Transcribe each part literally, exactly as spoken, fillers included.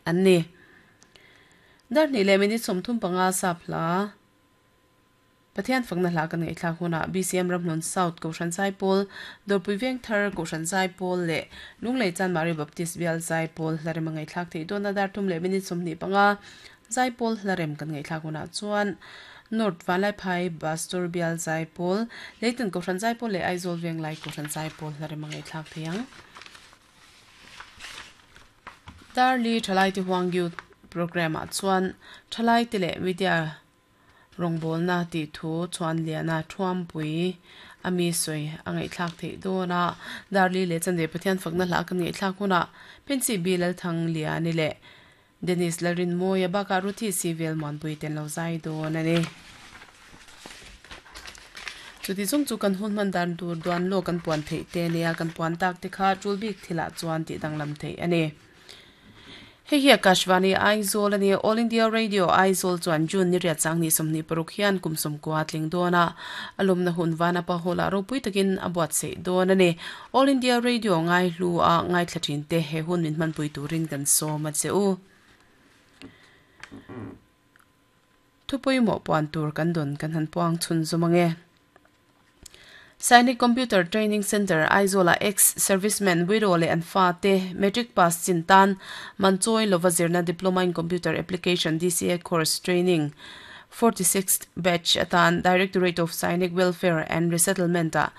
an ni. Dar ni le minute sawmthum panga sap hla Pathian fakna hla kan ngaihthlak hunah B C M Ramhlun South Kohhran Zaipawl, Dawrpui Vengthar Kohhran Zaipawl leh Lunglei Chanmari Baptist Bial Zaipawl hlarem a ngaihthlak theih dawn a. Dar thum leh minute sawmhnih panga Zaipawl hlarem kan ngaihthlak hunah chuan North Vanlaiphai Pastor Bial Zaipawl, Leitan Kohhran Zaipawl leh Aizawl Venglai Kohhran Zaipawl hlarem a ngaihthlak theih ang. Darli Thalai Ti Huang Youth Program ah chuan Thalai te leh media rawngbawlna na ti thu chuan liana thuampui ami soi a ngaihthlak theih dawn a. Darli leh chan ve Pathian fakna hla kan ngaihthlak hunah Pensi Bilal Thang Liani leh Dennis Larin Moya baka Ruthi Sivel Muanpui ten lo zai dawn ani. Chuti chung chu kan hun man dan tur duan lo kan puan theih te nia kan puan tak te kha tulbik thila chuan ti danglam theih ani. Hei hi Akashvani Aizawl ani. All India Radio Aizawl chuan June ni riat chang ni sawmhnih paruk hian kum sawmkua tling dawn a. Alumna hun vana pa hola ropui takin a buat sei dawn ani. All India Radio ngai hlu a ngai thlachin te he hun min hmanpui turin kan sawm a che u. Thupui mo puan tur kan don kan han puang chhun zumange. Sainik Computer Training Center Aizola ex-serviceman widow le an fa te matric pass chintan manchoi lovazirna Diploma in Computer Application D C A course training forty-sixth batch atan Directorate of Sainik Welfare and Resettlement a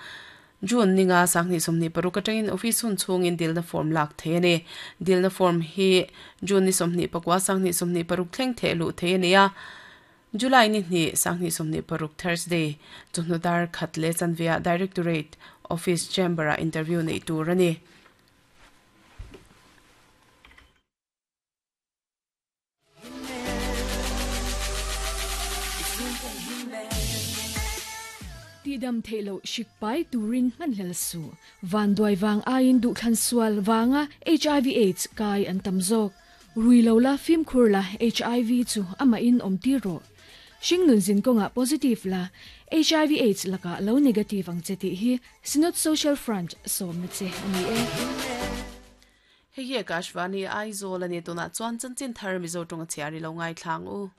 June ninga sangni somni paruk atangin office hun chungin dilna form lak theine. Dilna form hi June ni somni pakwa sangni somni paruk thleng the lu theine a. July ni ni sangni somni paruk Thursday chunudar khatle chanvia Directorate Office Chamber a interview nei tur ani. Ti dam theilo shikpai turin manhlel su van doi wang ain du khan sual wanga H I V AIDS kai an tamzok ruilo la phim khur la H I V chu ama in om ti ro Shing nun zin ko nga positive la H I V AIDS laka lo negative ang cheti hi Synod Social Front som na che ani e. Hei hi Akashvani Aizawl ani tuna chuan chanchin thar Mizo tawng chiari lo ngai thlang u.